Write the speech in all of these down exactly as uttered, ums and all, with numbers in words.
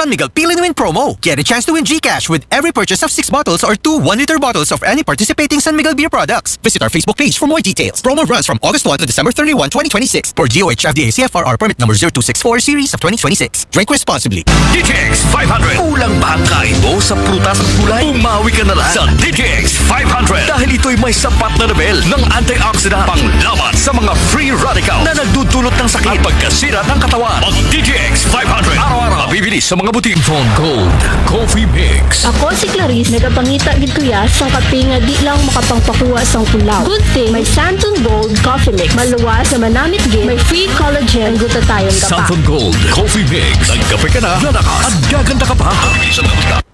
San Miguel Pili to Win promo. Get a chance to win GCash with every purchase of six bottles or two one-liter bottels of any participating San Miguel beer products. Visit our Facebook page for more details. Promo runs from August one to December thirty-one, twenty twenty-six. For DOH FDA CFRR permit number zero two six four series of twenty twenty-six. Drink responsibly. D T X five hundred. Kulang ba ang kain mo sa prutas at gulay? Umawi ka na lang sa D T X five hundred dahil ito'y may sapat na level ng antioxidant panglaban sa mga free radical na nagdudulot ng sakit at pagkasira ng katawan. Mag D T X five hundred. Araw-araw. Mabibili sa mga butik. Phone Gold Coffee Mix. Ako si Clarice, nagapangita gid kuya sa kape nga di lang makapangpakuha sa kulaw. Good thing may Santon Gold Coffee Mix. Maluwas na manamit gid, may free collagen, ang gutatayon ka pa. Santon Gold Coffee Mix. Nagkape ka na, lalakas at gaganda ka pa.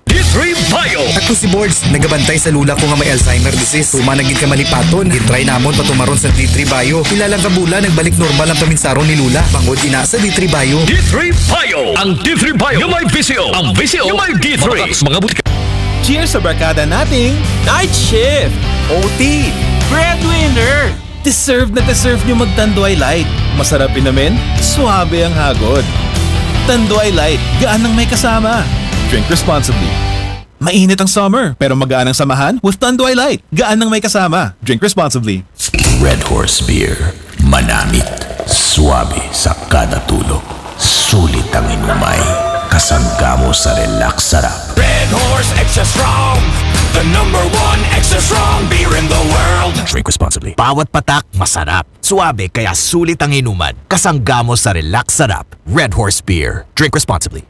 D three Bio. Ako si Bords, nagabantay sa lula ko nga may Alzheimer disease. Human na gid ka malipaton. Gitry namon patumaron sa D three Bio. Pila lang ka bulan, nagbalik normal ang paminsaron ni lula. Bangod ina sa D three Bio. D three Bio. Ang D three Bio. Yung may V C O. Ang V C O. Yung may D three. Mga butika. Cheers sa barkada nating night shift, O T, breadwinner. Deserve na deserve nyo mag-Tanduay Light. Masarap inumin, suabe ang hagod. Tanduay Light, gaan ng may kasama. Drink responsibly. Mainit ang summer, pero magaan ang samahan with Tanduay Light. Gaan ng may kasama. Drink responsibly. Red Horse Beer. Manamit. Suabe sa kada tulo. Sulit ang inumay. Kasangga mo sa relax sarap. Red Horse Extra Strong. The number one extra strong beer in the world. Drink responsibly. Bawat patak masarap. Suabe kaya sulit ang inuman. Kasangga mo sa relax sarap. Red Horse Beer. Drink responsibly.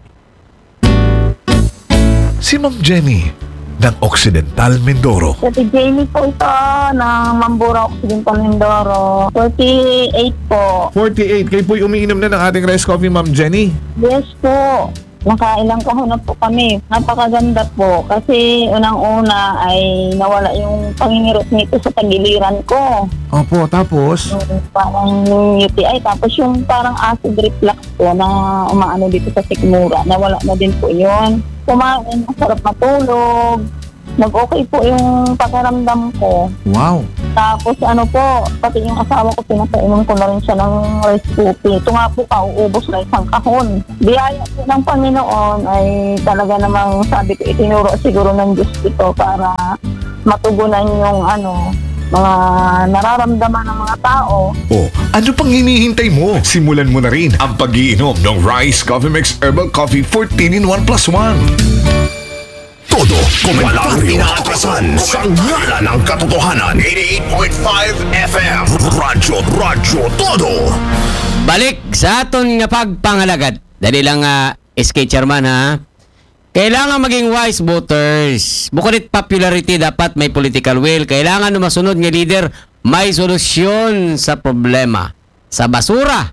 Si Ma'am Jenny ng Occidental Mindoro. Sa si Jenny po ito ng Mambura Occidental Mindoro. forty-eight po. forty-eight. Kayo po'y umiinom na ng ating rice coffee, Ma'am Jenny. Yes po. Nakailang kahon na po kami. Napakaganda po. Kasi unang-una ay nawala yung pangingirot nito sa tagiliran ko. Opo, tapos? Yung parang U T I. Tapos yung parang acid reflux po na umaano dito sa sikmura. Nawala na din po yun. Kumain, masarap matulog. Nag-okay po yung pakiramdam ko. Wow. Tapos ano po, pati yung asawa ko, pinapainom ko na rin siya ng rice coffee. Ito nga po, kauubos na isang kahon. Biyaya po ng Panginoon ay talaga namang sabi ko, itinuro siguro ng Diyos ito para matugunan yung ano, mga nararamdaman ng mga tao. O, ano pang hinihintay mo? Simulan mo na rin ang pag-iinom ng Rice Coffee Mix Herbal Coffee fourteen in one plus one. Todo komentaryo inaatrasan sa ngalan ng katotohanan. Eighty-eight point five F M. Radyo, Radyo Todo. Balik sa aton nga pagpangalagad. Dali lang, ah, S K Chairman, ha? Kailangan maging wise voters. Bukod it popularity, dapat may political will. Kailangan ng masunod nga leader, may solusyon sa problema. Sa basura,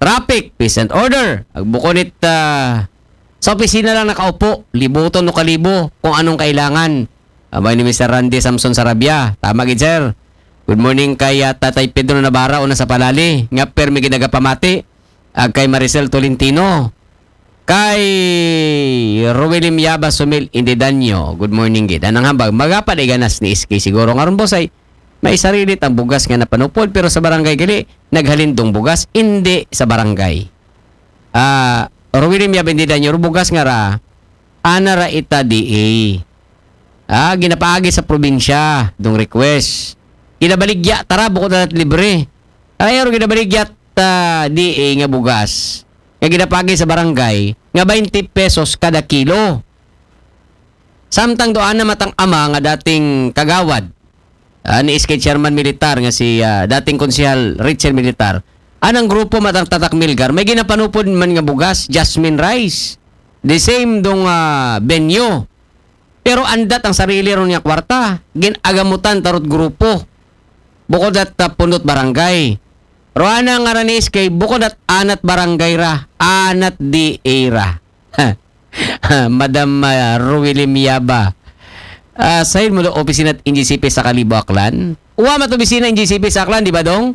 traffic, peace and order. Ag bukod it, ah, sa opisina lang nakaupo, libuton o kalibo kung anong kailangan. Abay ni Mister Randy Samson Sarabia. Tama gid, sir. Good morning kay, ah, Tatay Pedro Navarra, una sa Palali, nga permi ginagapamati. Ag kay Maricel Tolentino. Kay Roelim Yaba Sumil Indidanyo. Good morning gid. Anang hambag, magapad ay ganas ni S K siguro. Nga ron, boss, ay may sarilit ang bugas nga napanupod, pero sa barangay gali, naghalindong bugas, hindi sa barangay. Ah, Roelim Yaba Indidanyo, ro bugas nga ra, ana ra ita D A. Ah, ginapaagi sa probinsya, dong request. Ginabaligya, tara, bukod na libre. Ay, ro ginabaligya ta D A nga bugas. Nga ginapagi sa barangay, nga twenty pesos kada kilo. Samtang doon na matang ama nga dating kagawad, ah, ni S K Chairman Militar nga si, ah, dating konsehal Richard Militar, anang grupo matang Tatak Milgar, may ginapanupod man nga bugas, jasmine rice. The same dong, ah, venue. Pero andat ang sarili ron nga kwarta, ginagamutan tarot grupo. Bukod at, ah, pundot barangay. Roana nga ranis kay bukod at anat barangay ra, anat D A ra. Madam, ah, Ruwili Miyaba. Ah, sa'yo mo do opisina at N G C P sa Kalibo, Aklan? Uwa mat opisina N G C P sa Aklan, di ba, dong?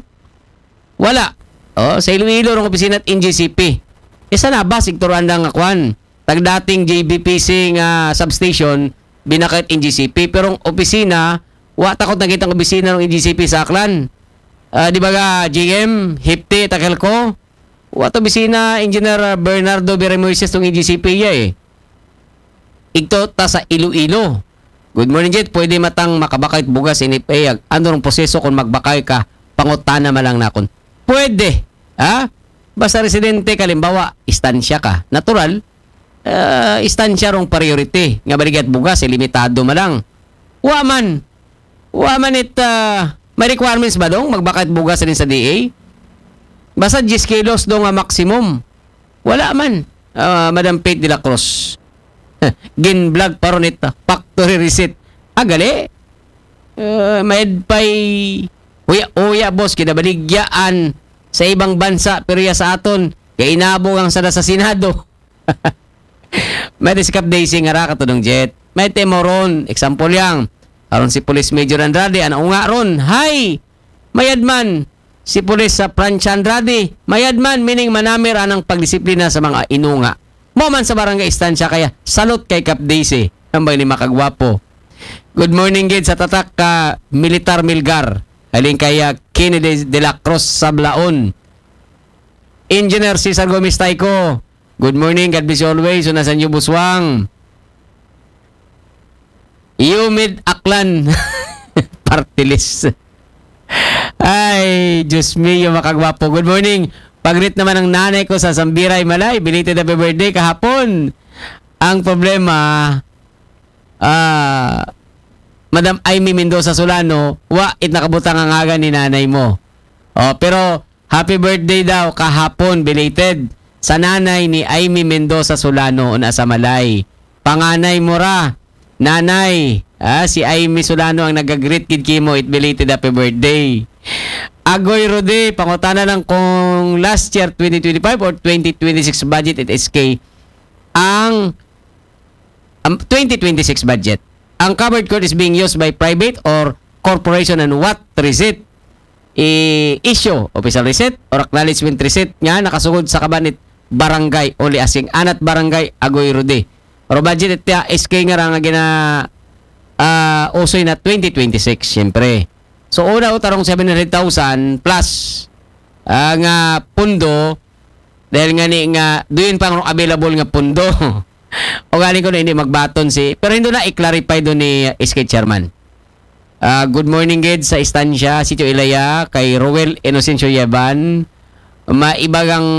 Wala. Oh, sa Iloilo rong opisina at N G C P. Isa na ba, sigturuan lang nga kwan? Tagdating J B P C nga substation, binakit N G C P. Pero ang opisina, wa takot nakita ang opisina ng N G C P sa Aklan. Ah, di ba ga, G M, Hipti, Takelco? Wa to bisina, Engineer, ah, Bernardo Viramoises tong E G C P ya eh. Igto ta sa Iloilo. Good morning, Jet. Pwede matang makabakay bugas in F A? Ag ano rong proseso kung magbakay ka? Pangutana man lang nakon. Pwede. Ha? Basta residente ka, halimbawa, istansya ka. Natural, ah, istansya rong priority. Nga baligya bugas, eh, limitado man lang. Wa man. Wa man it, ah, may requirements ba dong magbakay bugas rin sa D A? Basta diyes kilos dong, ah, maximum. Wala man. Ah, Madam Faith de la Cruz. Gin-vlog pa ron it, ah, factory receipt. Ah, gali. Ah, mayad pa'y uya-uya, boss, kinabaligyaan sa ibang bansa, pero ya sa aton, kay inabog ang sada sa Senado. May si Kap Daisy nga ra katudong Jet. May temo ron, example yang. Aron si Police Major Andrade, ana unga ron, hay! Mayad man. Si Police sa Francia Andrade, mayad man, meaning manamir anang pagdisiplina sa mga inunga. Mo man sa barangay istansya kaya, salute kay Kap Daisy. Ambay ni makagwapo. Good morning, gid sa tatak ka Militar Milgar. Aling kaya Kennedy de la Cruz Sablaon. Engineer Cesar Gomez Taico. Good morning, God bless you always. Una sa inyo, Buswang. Humid Aklan. Party list. Ay, Diyos mio, makagwapo. Good morning. Pag-greet naman ang nanay ko sa Sambiray, Malay. Belated happy birthday kahapon. Ang problema, ah, Madam Aimee Mendoza Solano, wa it nakabutang ang ngagan ni nanay mo. Oh, pero happy birthday daw kahapon, belated, sa nanay ni Aimee Mendoza Solano, una sa Malay. Panganay mo ra, nanay. Ah, si Aimee Solano ang nag-greet gid kimo, it belated happy birthday. Agoy Rudy, pangutana lang kung last year twenty twenty-five or twenty twenty-six budget at S K ang, ang twenty twenty-six budget. Ang covered court is being used by private or corporation and what receipt i-issue, official receipt or acknowledgement receipt nga nakasugod sa kabanit barangay, only asking anat barangay Agoy Rudy. Pero budget ito S K nga ra nga gina, ah, usoy na twenty twenty-six, siyempre. So, una o tarong seven hundred thousand plus, ah, nga pundo, dahil nga ni nga, duyon pa ang available nga pundo. O galing ko na hindi magbaton si, pero hindi na i-clarify doon ni S K Chairman. Ah, good morning, gid sa istansya, Sitio Ilaya, kay Roel Inocencio Yeban. Maibagang,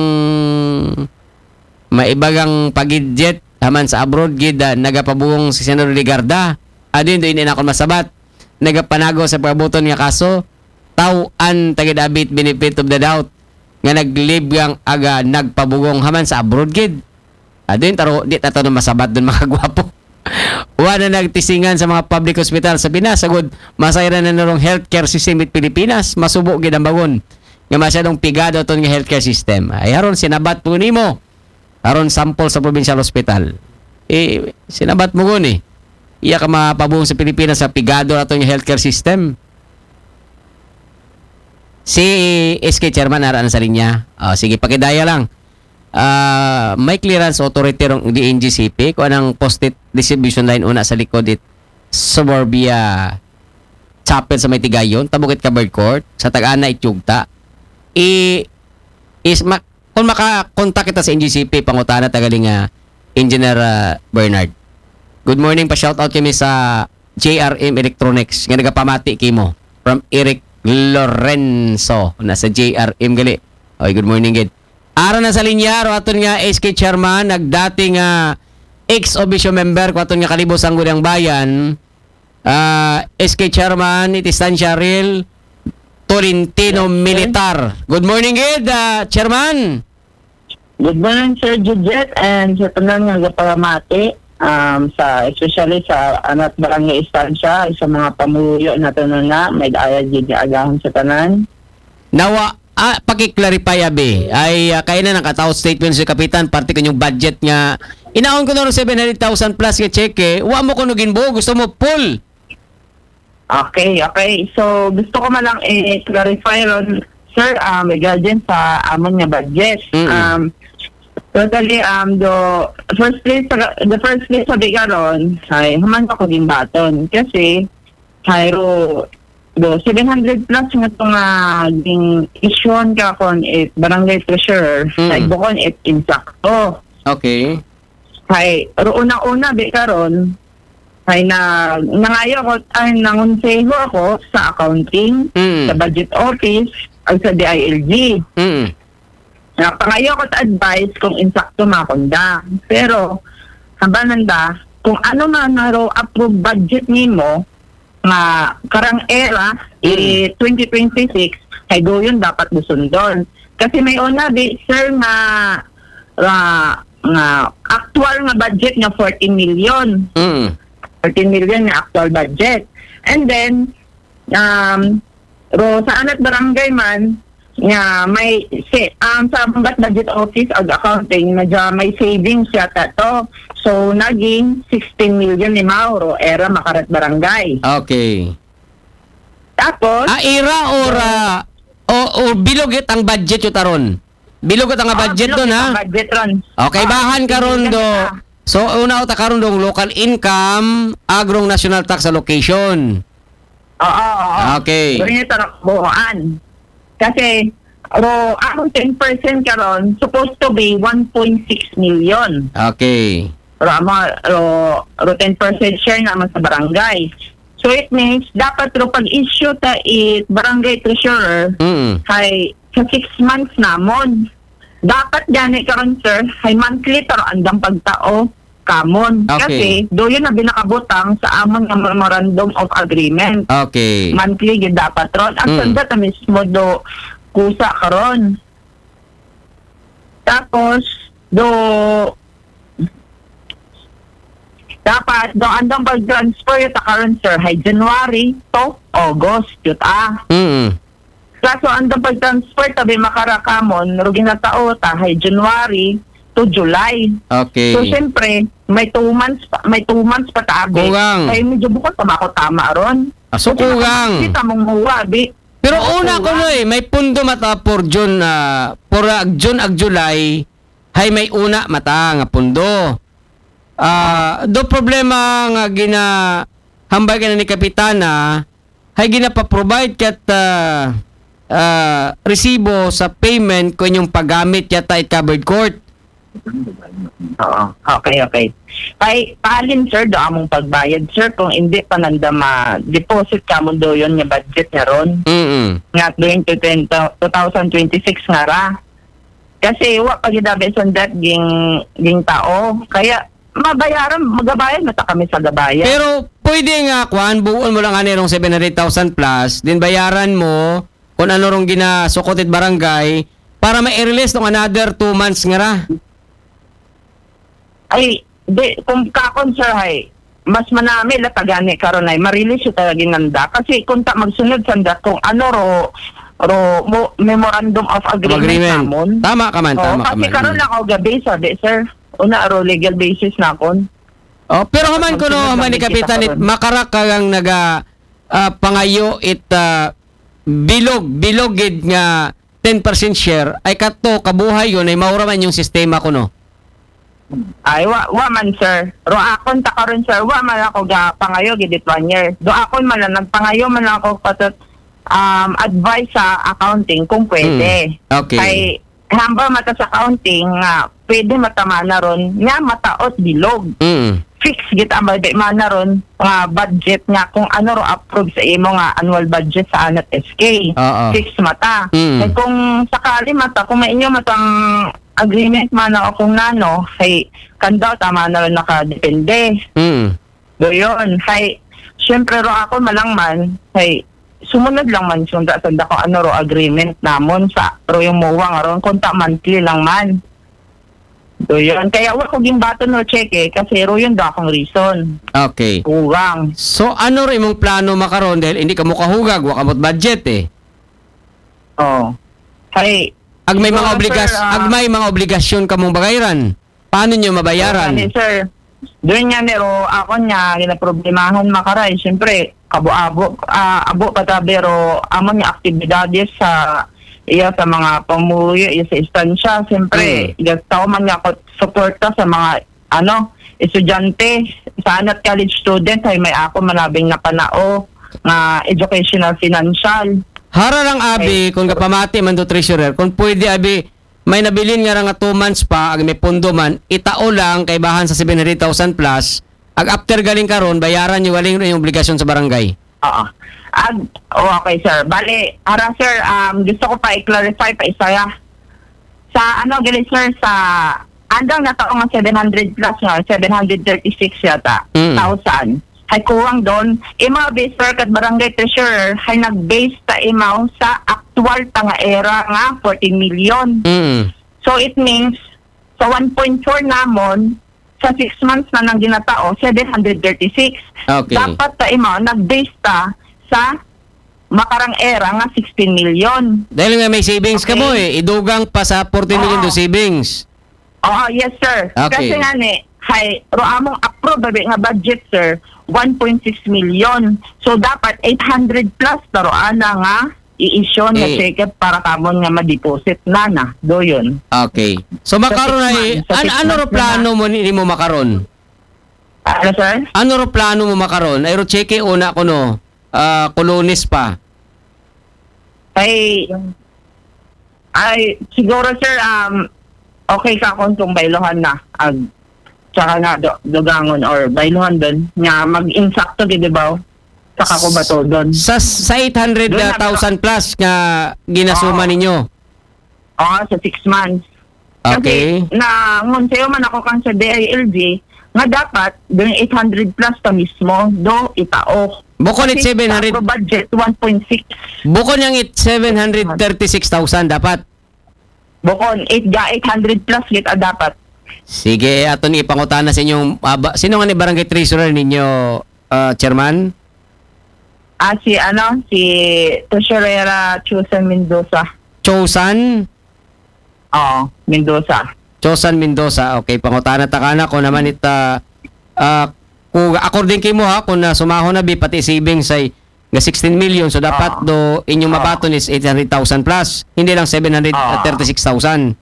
maibagang pagidjet, haman sa abroad, gid, ah, nagapabungong si Senador Legarda. Adin, doon, hindi na ako masabat. Nagapanago sa pagbuton nga kaso, tauan tagid abit benefit of the doubt nga naglib ang aga nagpabugong haman sa abroad, gid. Adin, taro, di ta to na masabat doon, mga gwapo. Wa na nagtisingan sa mga public hospital sa Pinas, sagod masayra na narong healthcare system it Pilipinas, masubo gid ang bangon nga masyadong pigado aton nga healthcare system. Ay, haron sinabat po nimo, haron sample sa provincial hospital. Eh, sinabat mo guni. Iya ka mapabung sa Pilipinas sa pigado aton nga healthcare system. Si S K Chairman, ara na sa linya. Oh, sige, pakidaya lang. Ah, may clearance authority rong D N G C P kung anang post-it distribution line una sa likod it Suburbia Chapel sa may Tigayon, tabukit covered court, sa Tag-ana, Ityugta. I, is, ma, kung makakontak kita sa N G C P, pangutana tagali nga Engineer, ah, Bernard. Good morning, pa-shoutout kami sa J R M Electronics nga nagapamati kimo. From Eric Lorenzo, nasa J R M gali. Oy, good morning, gid. Ara na sa linya, ro aton nga S K Chairman, nagdati nga ex officio member ko aton nga Kalibos ang Gudang Bayan, ah, S K Chairman, it Estancia Real, Tolentino Militar. Good morning, gid, ah, Chairman. Good morning, Sir Jujet, and sa tanan nga gapalamati, um, sa, especially sa anat barangay istansya, sa mga pamuluyo na tanan na, may daya gid nga agahon sa tanan. Nawa, ah, paki-clarify, abi. Ay, ah, kaya na nakataot statement si Kapitan, parte ko yung budget nga, inaon ko na rin seven hundred thousand plus nga check, eh. Wa mo ko naging buo, gusto mo full. Okay, okay. So, gusto ko man lang i-clarify ron, sir, um, regarding sa amon nga budget. Mm-mm. Um, totally, um, the first place, the first place sa bigaron, ay, human ako gimbaton. Kasi, hayro, do seven hundred plus nga to nga ging-issuehan ka kon it barangay treasurer, Mm. ay bukon it insakto. Okay. Hay, ro una-una, bi karon, hay na, nangayo ako, ay nangonseho ako sa accounting, Mm. sa budget office, ag sa D I L G. Mm. Napangayo ako sa advice kung insakto makunda. Pero, hamba nanda, kung ano man naro approved budget nimo, nga karang era, Mm. i twenty twenty-six, hay doyon dapat do sundon. Kasi may una, bi, sir, nga, nga, nga actual nga budget nga forty million. Mm. Forty million nga actual budget. And then, um, ro sa anat barangay man, nga may, si, um, sa bat budget office ag accounting, medyo may savings yata to. So, naging sixteen million ni Mauro, era makarat barangay. Okay. Tapos, Ah, era or, ah, o, o bilog it ang budget yun taron? Bilog it ang ah, budget bilog doon, it ha? ang budget ron. Okay, Ah, bahan karon bilog do. it, ah. So, una uta karon dong local income, agrong national tax allocation. Oo, oo. Okay. Doon yung tarang buuan. Kasi, ro, ang ten percent karon supposed to be one point six million. Okay. Ro, amo, ro, ro ten percent share naman sa barangay. So, it means, dapat ro pag-issue ta it barangay treasurer, Mm. hay sa six months namon. Dapat gani karon, sir, hay monthly taro andang pagtao kamon. Okay. Kasi, doon na binakabutang sa amon nga memorandum of agreement. Okay. Monthly gid dapat ron. Ang Mm. sanda ta mismo do kusa karon. Tapos, do dapat do andang pag-transfer ta karon, sir, hay January to August, yun ah. Mm. Kaso andang pag-transfer tabi makarakamon, ro ginatao ta hay January to July. Okay. So, siyempre, may two months pa, may two months pa tabi. Kulang. Kaya medyo bukod pa ako tama ron. Ah, so kulang. Kita mong muwa, bi. Pero Oo, una ko kulang. no eh, may pundo mata for June, ah, for ah, June ag July, hay may una mata nga pundo. Ah, do problema nga gina hambal ka na ni Kapitana, hay ginapa-provide kat ah, ah, resibo sa payment ko inyong paggamit yata it covered court. Oo. Okay, okay. Kay, paalin, sir, do among pagbayad, sir, kung hindi pa nanda ma-deposit ka mo do yun nga budget nga ron. Mm. Nga during two thousand twenty-six nga ra. Kasi wa pa gidabi sundat ging, ging tao. Kaya, mabayaran, magabayad mata kami sa gabayan. Pero pwede nga kwan, buon mo lang ani rong seven hundred thousand plus, din bayaran mo kung ano rong ginasukot it barangay para ma-release tong another two months nga ra. Ay, di, kung kakon, sir, hay, mas manami la tagani karon ay marilis yung talaga ginanda. Kasi kung ta magsunod sanda kung ano ro, ro mo, memorandum of agreement, namon. Tama ka man, Oo, tama ka kasi man. karon lang ako gabi, sabi, sir. Una, ro legal basis na kon. Oh, pero haman ko no, Magsunod haman lang ni kita Kapitan, it, karon. makarak ka lang naga ah, pangayo it ah, bilog, bilog gid nga ten percent share, ay kato, kabuhay yun, ay maura man yung sistema ko, no? Ay, wa, wa man, sir. Ro akon ta karon, sir. Wa man ako ga pangayo gid it one year. Do akon man lang, nagpangayo man lang ako patot, um, advice sa accounting kung pwede. Mm. Okay. Kay, hamba mata sa accounting nga, pwede mata mana ron, nga mataot bilog. Mm. Fix gid ang budget mana ron, nga budget nga kung ano ro approve sa imo nga annual budget sa anat S K. Oo. Fix mata. Mm. Kay kung sakali mata, kung may inyo matang agreement mana o kung nano, kay kandaw tama na ron nakadepende. Mm. Do yun. Kay, syempre ro ako malangman, kay sumunod lang man sunda sanda kung ano ro agreement namon sa ro yung muwang ron, kung ta monthly lang man. Do yun. Kaya wa ko gimbaton no check eh, kasi ro yun do akong reason. Okay. Kuwang. So, ano rin imong plano makaron dahil hindi ka mukahugag, wa ka mo't budget eh? Oh. Kay, Ag may mga Wala, obligas, sir, ah. Ag may mga obligasyon ka mong bagayran. Paano nyo mabayaran? Ano, sir? Doon nga nero, ako nga, ginaproblemahan makaray. Siyempre, kabo-abo, ah, abo pa tabi ro, amo nga aktibidades sa, iya sa mga pamumuyo, iya sa istansya. Siyempre, Mm. gastaw man nga ako suporta sa mga, ano, estudyante, sa anat college student, ay may ako manabing napanao. nga educational financial. Hara lang abi, kung kapamati man do treasurer, kung pwede abi, may nabilin nga ra nga two months pa, ag may pundo man, itao lang kay bahan sa seven hundred thousand plus, ag after galing karon, bayaran nyo galing yung obligasyon sa barangay. Oo. Ag, oh, okay, sir. Bali, ara, sir, um, gusto ko pa i-clarify pa isa ya. Sa ano, gali, sir, sa andang natao nga seven hundred plus nga, seven hundred thirty-six yata, Mm. thousand. Hay kuwang doon, imo abi, sir, kat barangay treasurer, hay nag-base ta imo sa actual ta nga era nga fourteen million. Mm. So it means, sa one point four namon, sa six months na nang ginatao, seven hundred thirty-six. Okay. Dapat ta imo, nag-base ta sa makarang era nga sixteen million. Dahil nga may savings ka Okay. mo eh, idugang pa sa fourteen million Oo. do savings. Oo, yes, sir. Okay. Kasi nga ni, hay, ro among approve abi nga budget, sir, one point six million. So, dapat eight hundred plus ta ro ana nga i-issue nga Eh. cheque para kamon nga ma-deposit na na. Do yun. Okay. So makaron Sa six ay months, sa an- six ano ro months na plano mo ni mo makaron? Ano, sir? Ano ro plano mo makaron? Ay ro cheque una ko no. Ah, kolones pa. Ay, ay, siguro, sir, um, okay ka kung, kung bayluhan na. Ag, tsaka nga, do, dugangon or bayluhan din. Nga mag-insakto, di ba? Sa kakubato doon. Sa sa Doon na- eight hundred thousand plus nga ginasuma Oo. ninyo. Oo, sa six months. Okay. Kasi, na, ngun sa'yo man ako kang sa D I L G, nga dapat, doon eight hundred plus pa mismo, do itao. Bukod it Kasi seven hundred, sa budget, one point six. bukod niyang it seven hundred thirty-six thousand dapat. Bukon, eight ga eight hundred plus kita dapat. Sige, aton ipangutana sa inyong aba, sino nga ni barangay treasurer ninyo, ah, chairman? Ah, si ano, si Treasurera Chusen Mendoza. Chosan? Oo, Mendoza. Chosan Mendoza. Okay, pangutana ta kana ko naman it ah, ah, kung according kay mo ha, kung na sumaho na bi pati savings ay nga sixteen million, so dapat Oo. do inyong Oo. mabaton is eight hundred thousand plus, hindi lang seven hundred thirty-six thousand.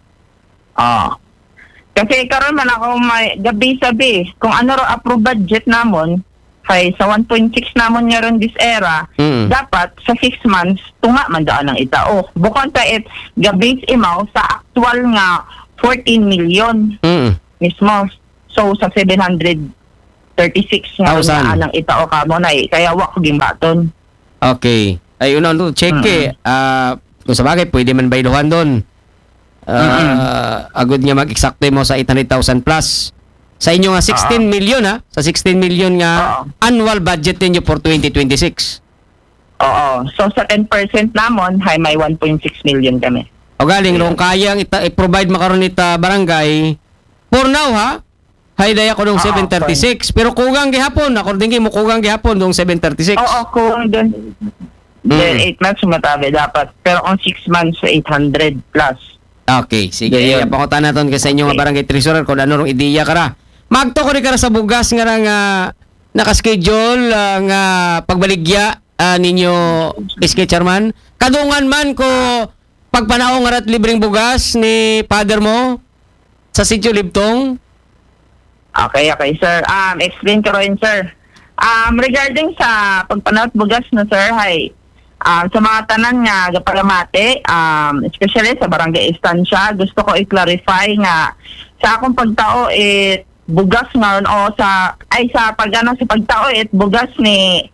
Oo. Kasi karon man ako may gabi sabi, kung ano ro approve budget namon, kay sa one point six namon nga ron this era, Mm. dapat sa six months, tunga man daan ang itao. Bukon ta it gabi imaw sa actual nga fourteen million Mm. mismo. So, sa seven hundred thirty-six nga Thousand. Ron nga anang itao kamo na eh. Kaya wa ko gimbaton. Okay. Ay, una, no, check Mm. eh. Ah, kung sa bagay, pwede man bayluhan doon. Ah, agud nga mag-exact mo sa eight hundred thousand plus. Sa inyo nga sixteen million ha? Sa sixteen million nga Oo. annual budget ninyo for twenty twenty-six. Oo. So, sa ten percent namon, hay may one point six million kami. O galing, kung kaya ang ita- i-provide makaron ita barangay, for now ha, hay daya ko dong Oo, seven thirty-six. Pero kugang gihapon, according kay mo kugang gihapon dong seven thirty-six. Oo, kung doon, Mm. then eight months, matabi dapat. Pero kung six months, eight hundred plus. Okay, sige. Dayon. Iya, pangutan naton kay sa inyo nga Okay. barangay treasurer kung ano rong ideya ka ra. Magto ko rin ka ra sa bugas nga ra nga naka-schedule ah, nga pagbaligya ah, ninyo S K chairman. Kadungan man ko pagpanao nga rat libreng bugas ni father mo sa Sitio Libtong. Okay, okay, sir. Um, explain ko rin, sir. Um, regarding sa pagpanawat bugas na, sir, hay, um, sa mga tanan nga gapalamati, um, especially sa barangay Estancia, gusto ko i-clarify nga sa akong pagtao it bugas ngayon o sa, ay, sa pag, ano, sa pagtao it bugas ni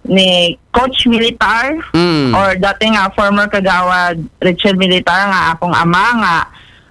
ni Coach Militar Mm. or dati nga former kagawad Richard Militar nga akong ama nga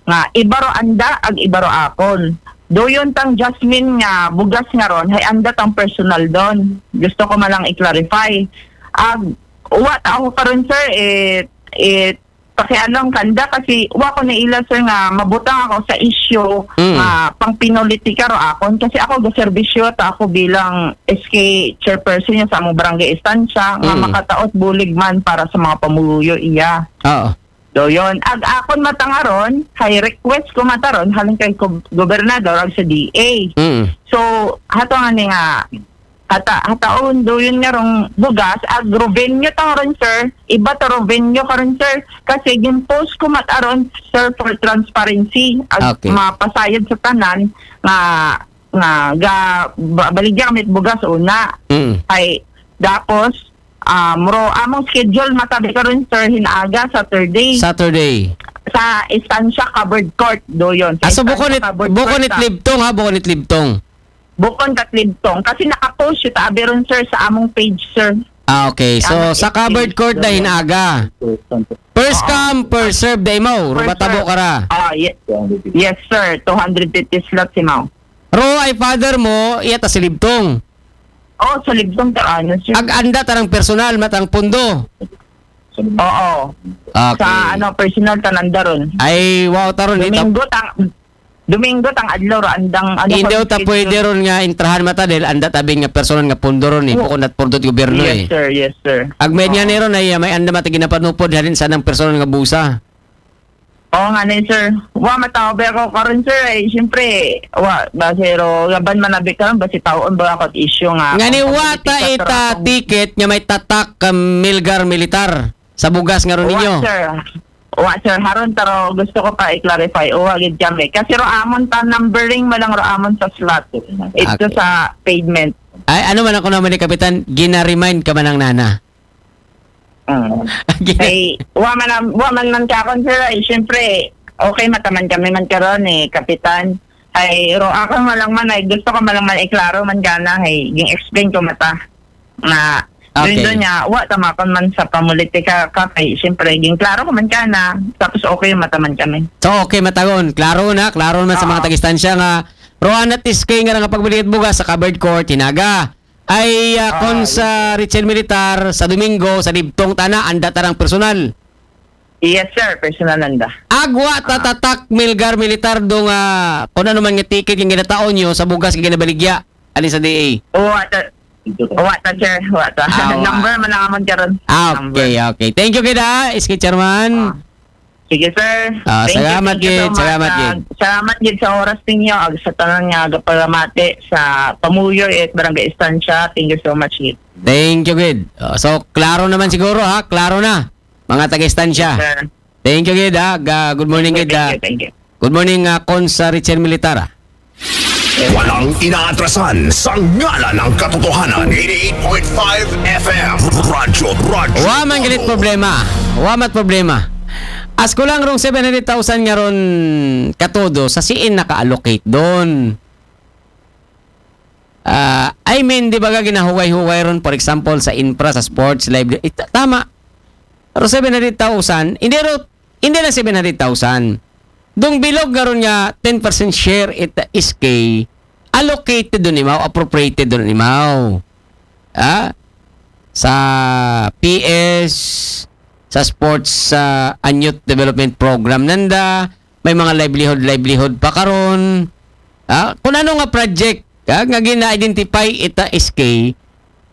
nga iba ro anda ag iba ro akon. Doyon tang Jasmine nga bugas nga ron, hay anda tang personal don. Gusto ko malang i-clarify. Ag, wa ta ako karon, sir, it, it pakialam kanda kasi wa ko naila, sir, nga mabutang ako sa issue Mm. nga pang pinopolitika ro akon kasi ako gaserbisyo ta ako bilang S K chairperson niya sa among barangay Estancia nga Mm. makataot bulig man para sa mga pamuluyo iya. Oo. Doyon. Ag akon matangaron, hay request ko mataron, halin kay gob- gobernador ag sa D A. Mm. So, hato nga ni nga, hata, hataon doyon nga rong bugas, ag revenue tangaron, sir. Iba to revenue karon, sir. Kasi gin-post ko mataron, sir, for transparency. Ag Okay. mapasayod sa tanan nga, nga ga, ba, baligya kami bugas una. Mm. Ay, tapos, Ah, muro, among schedule matabi karon, sir, hinaga, Saturday. Saturday. Sa Estancia Covered Court, do yon. Sa Aso bukon Estancia it, Covered bukon Court it sa- Libtong ha, bukon it Libtong. Bukon kat Libtong. Kasi nakapost siya ta abi ron, sir, sa among page, sir. Ah, okay. So, Ano, sa covered it- court na hinaga. First Oo. come, first serve da imaw. First Rubatabo serve. Ka ra. Ah, yes. Yes, sir. Two hundred fifty slots imaw. Ro ay father mo, iya ta si Libtong. Oh, sa Libtong ta ano, sir. Ag anda tarang personal, matang pundo. Oo. Okay. Sa ano, personal ta nanda ron. Ay, wow, taron ita. Domingo tang Domingo tang adlaw ra andang ano. Hindi kung ta schedule. Pwede ron nga intrahan mata dahil anda tabing nga personal nga pundo ron eh. Oh. Bukod at pundo ti gobyerno Yes, eh. Sir. Yes, sir. Ag may niya Oo. Neron ay may anda mata ginapanupod halin sa nang personal nga busa. Oo nga ni, sir. Wa mataw ba ako karon, sir? Ay, siyempre, wa, basi ro, gaban manabi karon, basi taon ba ako at issue nga. Nga ni Ang wata politika, sir, ita akong- ticket nga may tatak ka milgar militar sa bugas nga ron Wa, ninyo. Sir. Wa, sir. Haron, pero gusto ko pa i-clarify. Wa, gid kami. Kasi ro amon ta numbering, malang ro amon sa slot. Ito Okay. Sa pavement. Ay, ano man ako naman ni Kapitan, gina-remind ka man ng nana. Mm. Gina- Ay, wa man, am- wa man man ka akon, sir. Ay, siyempre, okay, mataman kami man karon eh, Kapitan. Ay, ro ako malang man, ay gusto ko malang man iklaro man gana, ay, ging explain ko mata. Na, Okay. Doon niya, wa tamakon man sa pamulitika ka, kay siyempre, ging klaro ko man gana, tapos okay, mataman kami. So, okay, matagon. Klaro na, klaro naman sa mga Oo. tagistansya nga Roan at Iskay nga nga pagbalik bugas sa covered court, hinaga. Ay, ah, Ah, kon yes, sa Richel Militar, sa Domingo, sa Libtong, tana, anda tarang personal. Yes, sir. Personal nanda. Agwa tatatak milgar militar do nga kung ano man nga ticket yung ginataon nyo sa bugas nga ginabaligya. Alin sa D A? Wa ta, wa ta, sir. Wa ta. Ah, wa. Number man ang amon karon. Ah, Number. Okay, okay. Thank you, kid, ha, Iskay Chairman. Ah. Sige, sir. Ah, Thank you, salamat, thank you so gid. much. Salamat, Ah, gid. Salamat, gid, sa oras ninyo. Ag sa tanan nga gapalamati sa Pamuyo at Barangay Estancia. Thank you so much, gid. Thank you, gid. Oh, so, klaro naman siguro, ha? Klaro na, mga taga-estansya. Sir. Thank you, gid, ha? Ga- good morning, Thank gid, you, ha? thank you, thank you. Good morning, uh, Konsa Richel Militar, ha? Walang inaatrasan sa ngalan ng katotohanan. Eighty-eight point five F M. Radyo, Radyo. Wa man galit problema. Wa mat problema. As ko lang rong seven hundred thousand nga ron katodo, sa siin naka-allocate doon. Ah, I mean, di ba ga ginahugay-hugay ron, for example, sa infra, sa sports, live, eh, ta- tama. Pero seven hundred thousand, hindi ro, hindi lang seven hundred thousand. Dong bilog nga ron nga ten percent share it S K, allocated doon imaw, appropriated doon imaw. Ah? Sa P S, sa sports, sa and youth development program nanda, may mga livelihood, livelihood pa karon. Ah? Kung ano nga project, ah, nga gina-identify ita S K,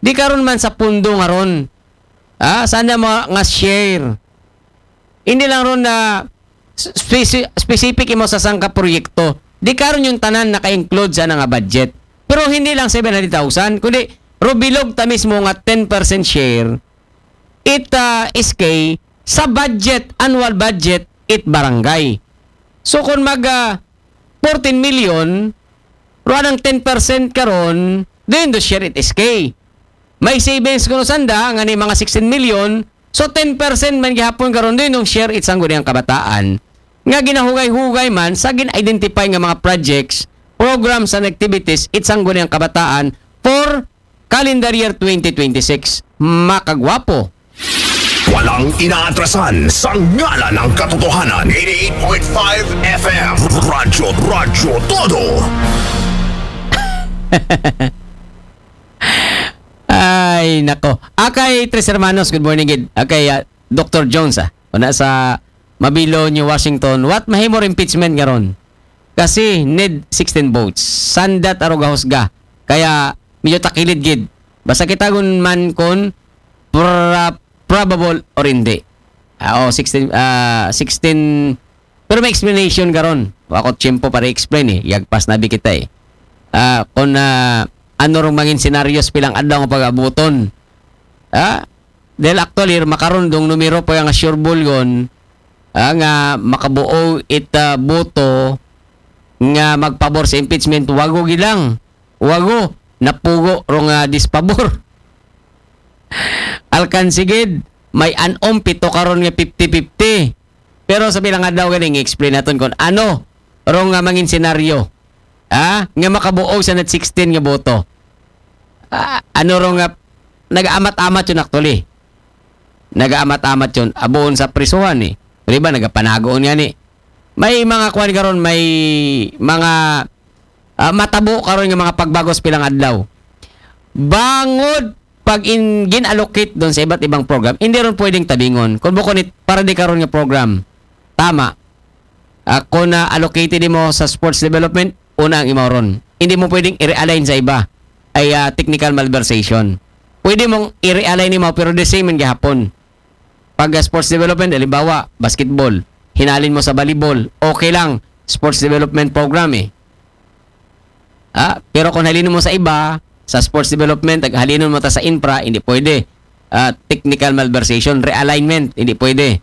di karon man sa pundo nga ron. Ah, sana mga nga share. Hindi lang ron na speci- specific imo sa sangka proyekto. Di karon yung tanan naka-include sa nga budget. Pero hindi lang seven hundred thousand, kundi ro bilog ta mismo nga ten percent share it, ah, S K sa budget, annual budget it barangay. So kung mag, ah, fourteen million, ruan ang ten percent karon, doon do share it S K. May savings kuno sanda nga ni mga sixteen million, so ten percent man gihapon karon doon nung share it sangguniang kabataan nga ginahugay-hugay man sa gin-identify nga mga projects, programs and activities it sangguniang kabataan for calendar year twenty twenty-six. Makagwapo. Walang inaatrasan sa ngalan ng katotohanan. Eighty-eight point five F M. Radyo, Radyo Todo. Ay, nako. Akay Tres Hermanos, good morning, gid. Akay, ah, Doctor Jones, ah. Una sa Mabilo, New Washington. What mahimo impeachment karon? Kasi need sixteen votes. Sandat aro gahusga. Kaya medyo takilid gid. Basta kita gun man kon pra- probable or hindi. Ah, oh, sixteen, ah, sixteen, pero may explanation karon. Wa ko tiyempo para explain eh. Yagpas na bi kita eh. Ah, kung, ah, ano rong mangin scenarios pilang adlaw nga pag-abuton. Ah, dahil actually, makaron dong numero pa nga sure bulgon, ah, nga makabuo it, ah, boto nga magpabor sa impeachment, wago gilang. Wago, napugo rong, ah, dispabor. alkanse gid, may anom pito karon nga fifty fifty. Pero sa pilang adlaw gani, explain naton kung ano ro nga mangin senaryo, ha, nga makabuog sa net sixteen nga boto. Ah, ano ro nga nag-amat-amat yun actually. Nag-amat-amat yun. Abuon sa prisuhan eh. Di ba, nagapanagoon nga ni. May mga kuwan karon, may mga ah, matabo karon nga mga pagbago sa pilang adlaw. Bangod pag in, gin-allocate doon sa iba't ibang program, hindi ron pwedeng tabingon. Kung bukon it, para di karon nga program, tama. Ah, kung na-allocated mo sa sports development, una ang imaw ron. Hindi mo pwedeng i-realign sa iba. Ay ah, technical malversation. Pwede mong i-realign mo pero the same man gihapon. Pag ah, sports development, halimbawa, basketball, hinalin mo sa volleyball, okay lang, sports development program eh. Ah, pero kung halinin mo sa iba, sa sports development, ag halinin mo ta sa infra, hindi pwede. Ah, technical malversation, realignment, hindi pwede.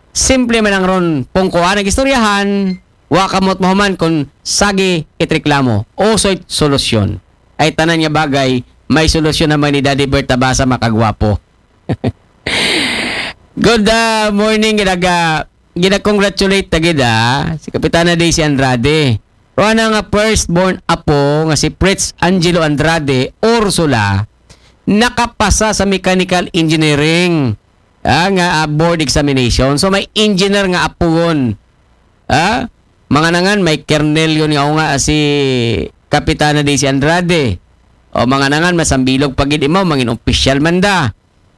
Simple man ang ron, pungkuan ang istoryahan, wa ka mo't mahuman kung sagi it reklamo. Usoy solusyon. Ay tanan nga bagay, may solusyon naman ni Daddy Bert Tabasa, makagwapo. Good ah, morning, ginaga, gina-congratulate ta gid ah, si Kapitana Daisy Andrade. Ro ana nga firstborn apo nga si Prince Angelo Andrade Ursula, nakapasa sa mechanical engineering, ah, nga ah, board examination. So may engineer nga apuon. Ah, mga nangan, may kernel yun nga, o nga si Kapitana Daisy Andrade. O mga nangan, masambilog pagid imaw, mangin opisyal man da.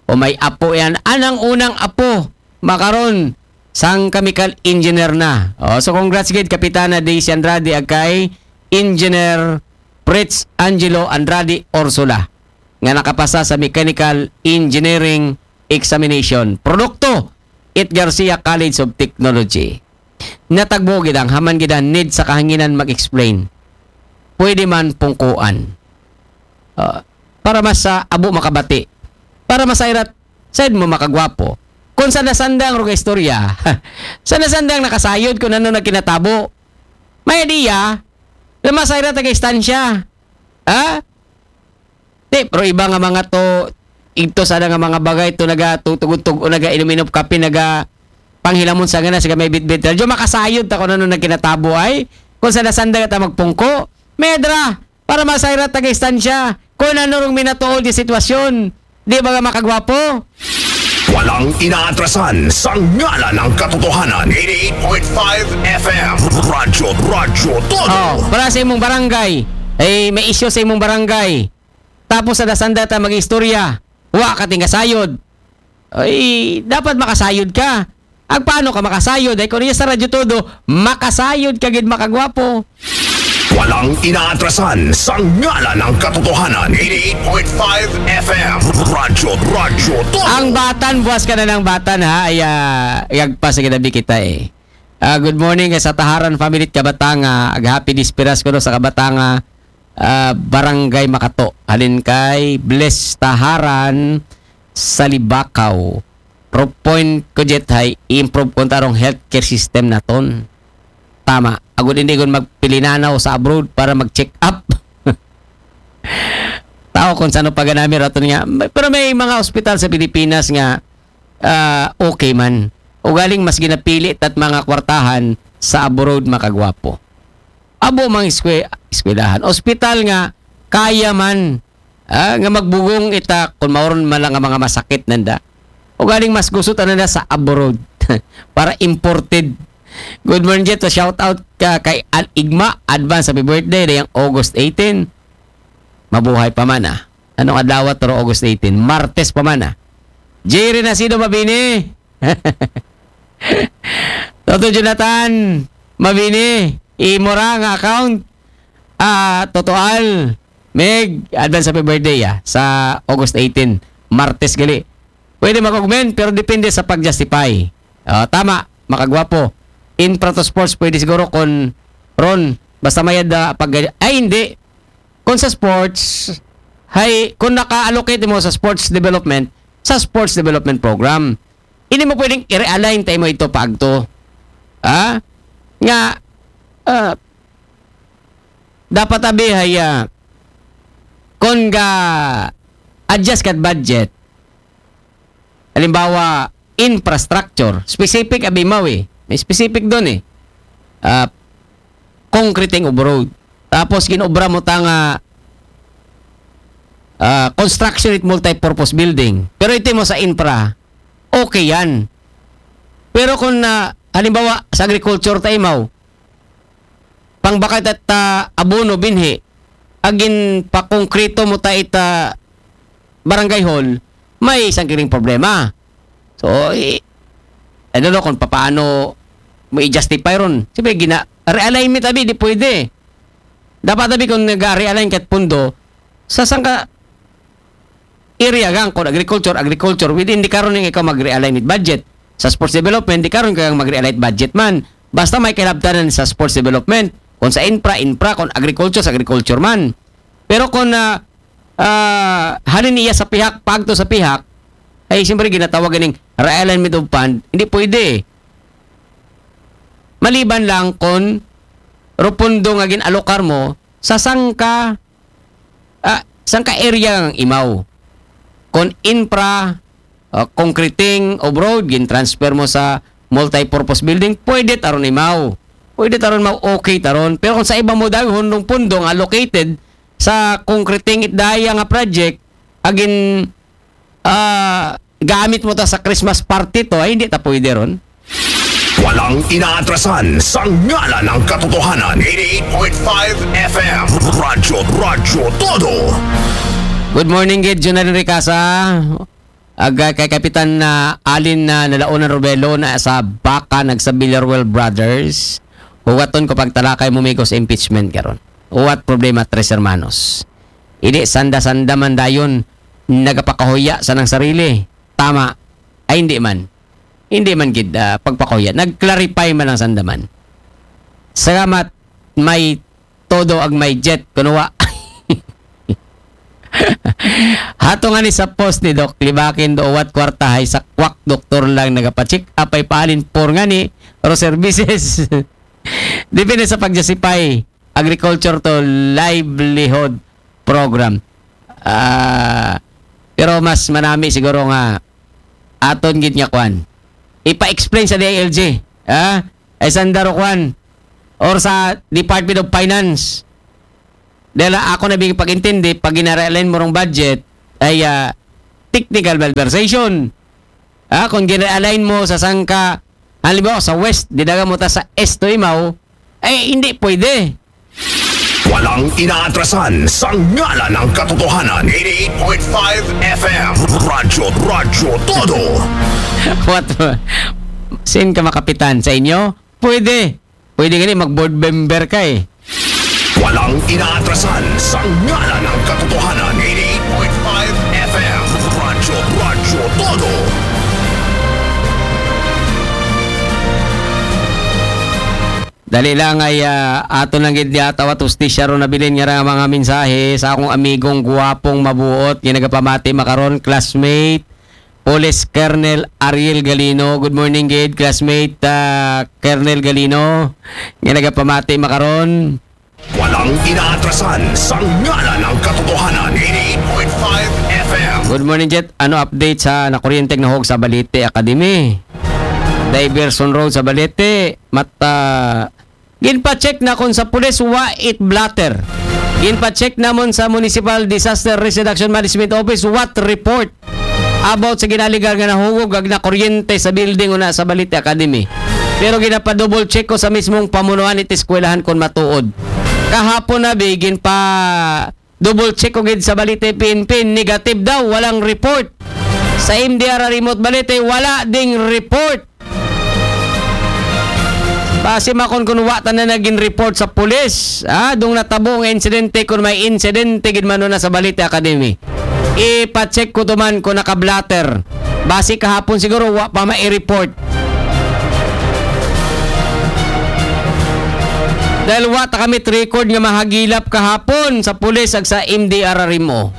O may apo yan. Anang unang apo, makaron, sang chemical engineer na. O, so congrats gid Kapitana Daisy Andrade ag kay Engineer Fritz Angelo Andrade Ursula nga nakapasa sa Mechanical Engineering Examination. Produkto, it Garcia College of Technology. Natagbo gid ang haman gid ang need sa kahanginan mag-explain. Pwede man pungkuan. Ah, para mas sa abo makabati. Para masayrat, said mo makagwapo. Kung sa nasandang rong istorya, sa nasandang nakasayod kung ano nagkinatabo. May idea, na masayrat ang istansya. Ha? Di, pero iba nga mga to, ito sana nga mga bagay to naga tutugod-tug o naga inom-inom kape, naga panghilamon sa ngana, sige may bitbit. Radyo makasayod ta kung ano nagkinatabo ay. Kung sa nasandang ta magpungko, medra, para masayra taga-istansya, kung ano rong minatuod yung sitwasyon. Di ba nga makagwapo? Walang inaatrasan sa ngalan ng katotohanan. eighty-eight point five F M. Radyo, Radyo Todo. Oh, para sa imong barangay. Eh, may isyu sa imong barangay. Tapos sa dasanda ta mag-istorya. Wa ka tingasayod. Ay, dapat makasayod ka. Ag paano ka makasayod? Ay, kung niya sa Radyo Todo, makasayod ka gid makagwapo. Walang inaatrasan sa ngalan ng katotohanan. eighty-eight point five F M. Radyo, Radyo Todo. Ang batan, buwas ka na ng batan ha. Ay, ah, yagpas sa ginabi kita eh. Ah, good morning kay sa Taharan family at Kabatanga. Ag happy dispiras ko no sa Kabatanga, ah, Barangay Makato. Halin kay Bless Taharan sa Libakaw. Pro point ko jet hay i-improve ko tarong healthcare system naton. Tama. Agud hindi ko magpilinanaw sa abroad para mag-check up. Tao kung sano pa ganami raton nga. Pero may mga ospital sa Pilipinas nga ah, okay man. Ugaling mas ginapili tat mga kwartahan sa abroad makagwapo. Abo mang eskwelahan, ospital nga kaya man, ah, nga magbugong ita kung mauron man lang ang mga masakit nanda. Ugaling mas gusto ta nanda sa abroad para imported. Good morning, Jet. Shout out ka kay Al Igma. Advance happy birthday dayang August eighteen. Mabuhay pa man ah. Anong adlaw to, August eighteen? Martes pa man ah. J Renacido Mabini. Toto Jonathan Mabini. Imo ra nga account. Ah, totoal. Meg, advance happy birthday ah, sa August eighteen. Martes gali. Pwede mag-augment pero depende sa pag-justify. Ah, tama, makagwapo. Infra to sports pwede siguro kon ron basta mayad ah, pag ay hindi. Kung sa sports, hay kung naka-allocate mo sa sports development, sa sports development program, hindi mo pwedeng i-realign tayo mo ito paagto. Ha? Nga ah, dapat abi hay ah, kung ga adjust ka budget, Halimbawa, infrastructure. Specific abi imaw eh. May specific doon eh. Ah, concreting of road. Tapos ginobra mo ta nga ah, construction it multi-purpose building. Pero iti mo sa infra, okay yan. Pero kung na, halimbawa, sa agriculture ta imaw, pangbakad ta abono binhi, agin pakongkrito mo ta ita barangay hall, may sangkiring problema. So, i-, I don't know kung papaano mo i-justify ron. Siyempre, gina-, realignment abi, di pwede. Dapat abi kung nag-realign kat pundo, sa sangka area gang, kung agriculture, agriculture, within di karon nga ikaw mag-realign with budget. Sa sports development, di karon ka mag-realign budget man. Basta may kalabtanan sa sports development. Kung sa infra, infra, kung agriculture, sa agriculture man. Pero kung, ah, ah, halin iya sa pihak, pagto sa pihak, ay siyempre ginatawag ganing realignment of fund, hindi pwede. Maliban lang kung rupundo nga gin-alokar mo sa sangka, ah, sangka area nga imaw. Kung infra, ah, concreting of road, gin-transfer mo sa multi-purpose building, pwede taron imaw. Pwede taron imaw, okay taron. Pero kung sa iba mo daw, hundong pundo nga allocated sa concreting it daya nga project, agin, ah, gamit mo ta sa Christmas party to, ay hindi ta pwede ron. Walang inaatrasan sa ngalan ng katotohanan. Eighty-eight point five F M. Radyo, Radyo Todo. Good morning, gid, Junel Ricasa. Aga kay Kapitan na Alin na Nalaonan Robelo na sa baka nagsa Villarreal Brothers. Huwaton ko pagtalakay mo migos impeachment karon. What problema, Tres Hermanos? Hindi sanda-sanda man dayon nagapakahuya sa nang sarili. Tama. Ay, hindi man. Hindi man gid, ah, pagpakuya. Nag-clarify man ang sandaman. Salamat, may todo ag may jet, kunuwa. Hato nga ni sa post ni Doc, libakin do uwat kwarta hay sa kwak doktor lang nagapa-check up ay paalin por nga ni pro services. Depende sa pag-justify agriculture to livelihood program. Ah, pero mas manami siguro nga aton gid nga kwan. Ipa-explain sa D I L G. Ha? Ay sandaro kwan. Or sa Department of Finance. Dahil ako na bing pag-intindi, pag gina-realign mo rong budget, ay ah, technical malversation. Ah, kung gina-align mo sa sangka, halimbawa sa west, didaga mo ta sa east to imaw, ay hindi pwede. Walang inaatrasan sa ngalan ng katotohanan. Eighty-eight point five F M. Radyo, Radyo Todo. What? Sin ka makapitan sa inyo? Pwede. Pwede gani mag-board member ka eh. Walang inaatrasan sa ngalan ng katotohanan. Eighty-eight point five F M. Radyo, Radyo Todo. Dali lang ay ah, ato lang gid yata at hustisya ron nabilin nga ra mga mensahe sa akong amigong guwapong mabuot nga nagapamati makaron, classmate Police Colonel Ariel Galino. Good morning gid, classmate ah, Colonel Galino. Nga nagapamati makaron. Walang inaatrasan sa ngalan ng katotohanan. Eighty-eight point five F M. Good morning, Jet. Ano update sa nakuryenteng nahog sa Balete Academy? Diversion Road sa Balete. Mata, ginpa-check na kon sa pulis, wa it blotter. Ginpa-check namon sa Municipal Disaster Risk Reduction Management Office, what report about sa ginaligar nga nahugog ag nakuryente sa building una sa Balete Academy. Pero ginapa-double check ko sa mismong pamunuan it eskwelahan kon matuod. Kahapon na bi, ginpa double check ko gid sa Balete P N P, negative daw, walang report. Sa M D R R M O Balete, wala ding report. Basi makon kun wa ta na naging report sa pulis. Ah, dung natabo nga insidente kun may insidente gid man na sa Balete Academy. Ipa-check ko to man kung naka-blotter. Basi kahapon siguro wa pa mai-report. Dahil wa ta kami record nga mahagilap kahapon sa pulis ag sa M D R R M O.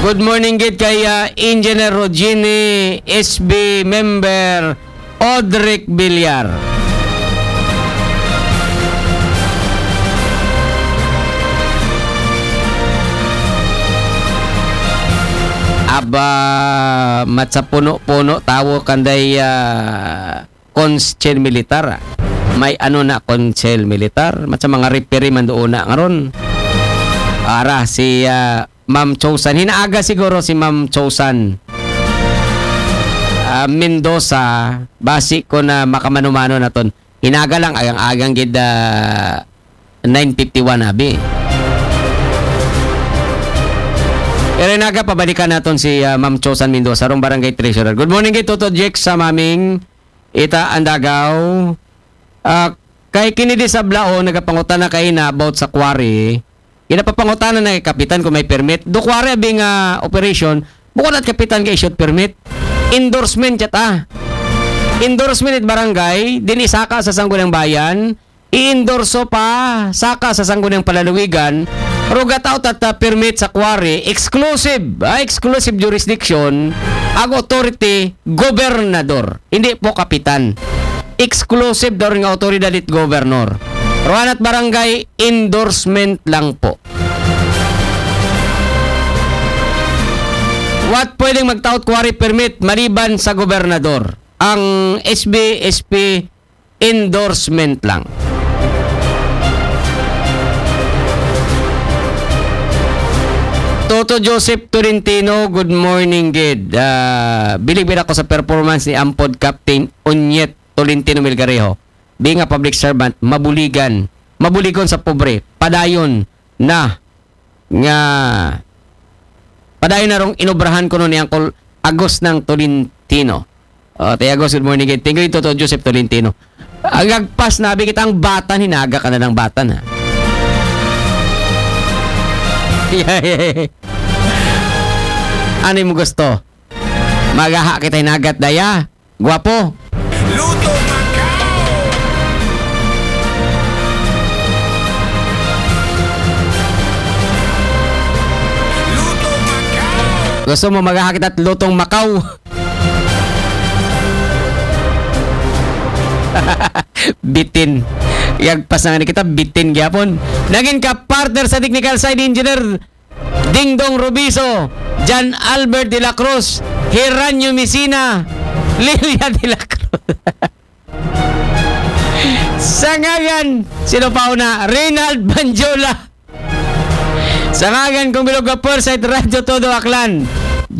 Good morning gid kay ah, Engineer Rogini, S B member, Odric Villar. Aba, matsa puno-puno tawo kanday, ah, konsel militar, ah. May ano na konsel militar, matsa mga referee man doon na ngaron. Ara, si, ah, Ma'am Chosan. Hinaaga siguro si Ma'am Chosan. Ah, Mendoza, basi ko na makamano-mano naton. Hinaaga lang, agang-agang gid, ah, nine fifty-one, abi. Pero hinaaga, pabalikan naton si, ah, Ma'am Chosan Mendoza, rong barangay treasurer. Good morning, gid, Toto Jex, sa maming ita ang Dagaw. Ah, kay kini di sa Blaon, nagapangutana kay na about sa quarry. Ginapapangutana na kay kapitan kung may permit. Do quarry abi nga operation, bukod at kapitan kay issued permit. Endorsement chat, ah. Endorsement it barangay, din isaka sa Sangguniang Bayan, i-endorso pa, saka sa Sangguniang Palaluwigan, rugat out at, ah, permit sa quarry, exclusive, ah, exclusive jurisdiction, ag authority, gobernador. Hindi po kapitan. Exclusive daw rin nga autoridad it gobernador. Ruan at barangay, endorsement lang po. What pwedeng magtaot quarry permit maliban sa gobernador? Ang S B S P endorsement lang. Toto Joseph Tolentino, good morning, gid. Ah, bilib ako sa performance ni Ampod Captain Onyet Tolentino Melgarejo. Being a public servant, mabuligan, mabuligon sa pobre, padayon na nga padayon na rong inobrahan ko ni Uncle Agos ng Tolentino. Oh, Tay Agos, good morning, gid. Thank you, Toto Joseph Tolentino. Agagpas na abi kita ang batan, hinaga ka na ng batan, ha? Ano mo gusto? Magaha kita hinagat daya. Guwapo. Luto Macau! Luto Macau! Gusto mo magaha kita lutong Macau? Bitin. Yagpas na nga ni kita, bitin gyapon. Naging ka-partner sa technical side engineer, Dingdong Rubiso, John Albert de la Cruz, Hiranyo Misina, Lilia de la Cruz. Sa ngagan, sino pa una? Reynald Banjola. Sa ngagan kong bilog ka Foresight Radyo Todo Aklan.